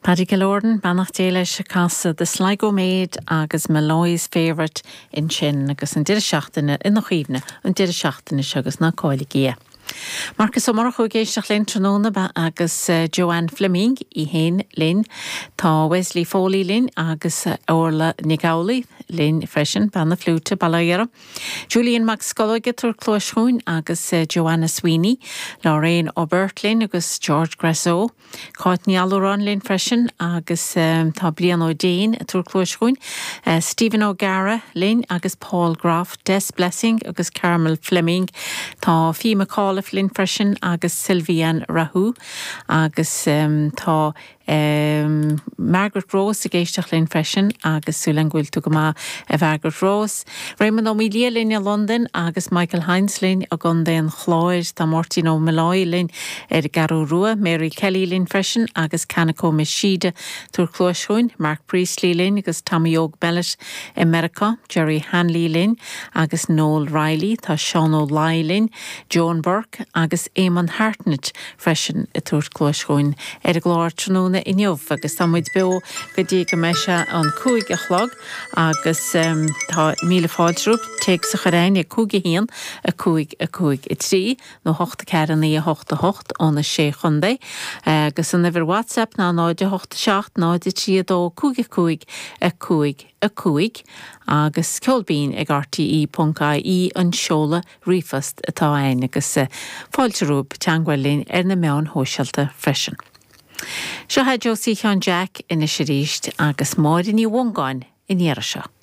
Paddy Killoran, beannacht Dé leis, ag casadh The Sligo Maid agus Molloy's Favourite ansin agus an deireadh seachtaine ina chuimhne, an deireadh seachtaine seo agus ná cailligí é. Marcas Ó Murchú ag éisteacht linn tráthnóna agus Joanne Fleming í fhéin linn. Tá Wesley Foley linn agus Orla Nic Amhlaoibh linn freisin, bean na fliúite, Bail ó Dhia uirthi. Julian Mac Scolóige ag tabhairt cluais chugainn agus Joanna Sweeney, Lorraine Aubert linn agus George Grasso. Cáit Ní Allúráin linn freisin agus tá Brian Ó Déin ag tabhairt cluais chugainn, Stephen O'Gara linn agus Paul Groff, Des Blessing agus Carmel Fleming. Tá Fee McAuliffe linn freisin agus Sylviane Rahou agus tá Margaret Rose ag éisteacht linn freisin agus súil agam go bhfuil tú go maith a Mhargaret Rose. Raymond Ó Maolaodha linn i Londain agus Michael Hynes linn i gContae an Chláir. Tá Máirtín Ó Mealláí linn ar an gCeathrú Rua, Mary Kelly linn freisin agus Kanako Mishida ag tabhairt cluais chugainn, Mark Priestley linn agus Tommy Óg Mellett i Meiriceá, Jerry Hanley linn agus Noel Reilly, tá Seán Ó Laoi linn, Joan Burke agus Eamon Hartnett freisin ag tabhairt cluais chugainn ar an gclár tráthnóna inniu agus tá muid beo go dtí go mbeidh sé an 5 a chlog agus tá míle fáilte romhaibh téacs a chur chugainn ag 5 1 5 5 3 nó 8 4 9 8 8 ó na Sé Chontae agus an uimhir WhatsApp ná 0 8 7 0 3 2 5 5 5 5 agus ceol binn ag rte.ie an seoladh ríomhphost atá againn agus fáilte romhaibh teangmháil linn ar na meáin shóisialta freisin. Seo é Josie Sheáin Jeaic anois arís agus Máire Ní Mhongáin ina dhiaidh seo.